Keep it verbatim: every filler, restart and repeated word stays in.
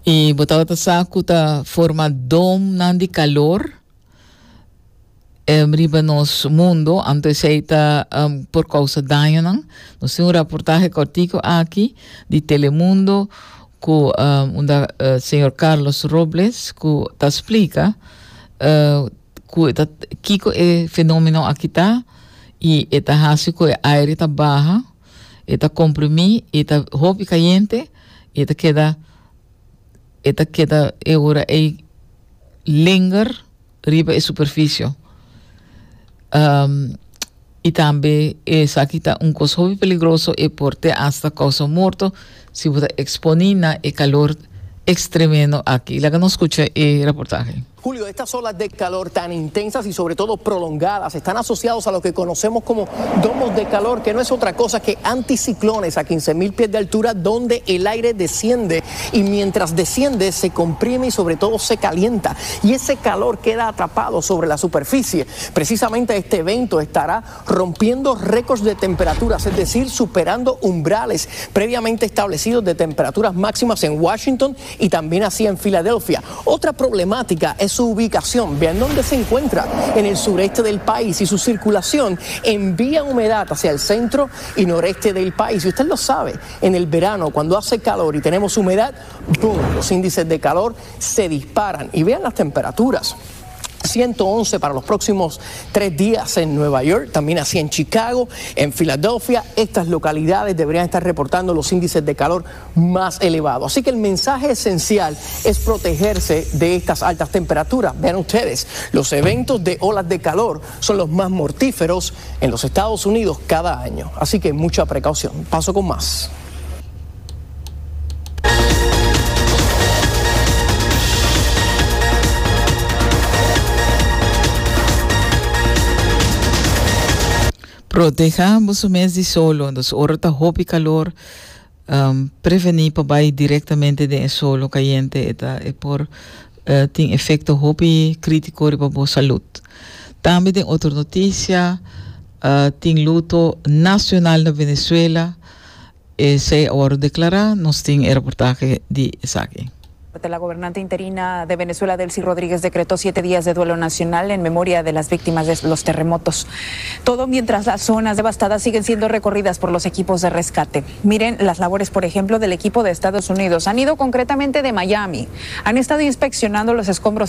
I bo tabata sa ku ta forma domnan di kalor um, riba nos mundo, anto esei ta um, por kousa dañonan. Nos tin un reportahe kòrtiku aki di Telemundo ku um, unda uh, señor Carlos Robles ku ta splika uh, ku ta kiko e fenómeno aki ta i e ta hasi ku e aire ta baha, e ta komprimí, e ta hopi kayente, e ta keda e ta keda e ora e linger riba e superfisio. Um, i tambe esaki ta un kos hopi peligroso i por te hasta kousa morto si bo ta eksponé na e kalor ekstremo aki. Laga nos skucha e reportahe. Julio, estas olas de calor tan intensas y sobre todo prolongadas están asociados a lo que conocemos como domos de calor, que no es otra cosa que anticiclones a quince mil pies de altura, donde el aire desciende y mientras desciende se comprime y sobre todo se calienta y ese calor queda atrapado sobre la superficie. Precisamente este evento estará rompiendo récords de temperaturas, es decir, superando umbrales previamente establecidos de temperaturas máximas en Washington y también así en Filadelfia. Otra problemática es su ubicación. Vean dónde se encuentra, en el sureste del país, y su circulación envía humedad hacia el centro y noreste del país. Y usted lo sabe, en el verano, cuando hace calor y tenemos humedad, ¡boom!, los índices de calor se disparan. Y vean las temperaturas. ciento once para los próximos tres días en Nueva York, también así en Chicago, en Filadelfia. Estas localidades deberían estar reportando los índices de calor más elevados. Así que el mensaje esencial es protegerse de estas altas temperaturas. Vean ustedes, los eventos de olas de calor son los más mortíferos en los Estados Unidos cada año. Así que mucha precaución. Paso con más. Protehá bo mes di solo, dus ora ta hopi kalor, um, prevení pa bai direktamente den solo kayente, ta, e por uh, tin efekto hopi krítiko pa bo salú. Tambe tin otro notisia, uh, tin luto nashonal na Venezuela, esei a wòrdu deklará, nos tin reportahe di esaki. La gobernante interina de Venezuela, Delcy Rodríguez, decretó siete días de duelo nacional en memoria de las víctimas de los terremotos. Todo mientras las zonas devastadas siguen siendo recorridas por los equipos de rescate. Miren las labores, por ejemplo, del equipo de Estados Unidos. Han ido concretamente de Miami. Han estado inspeccionando los escombros.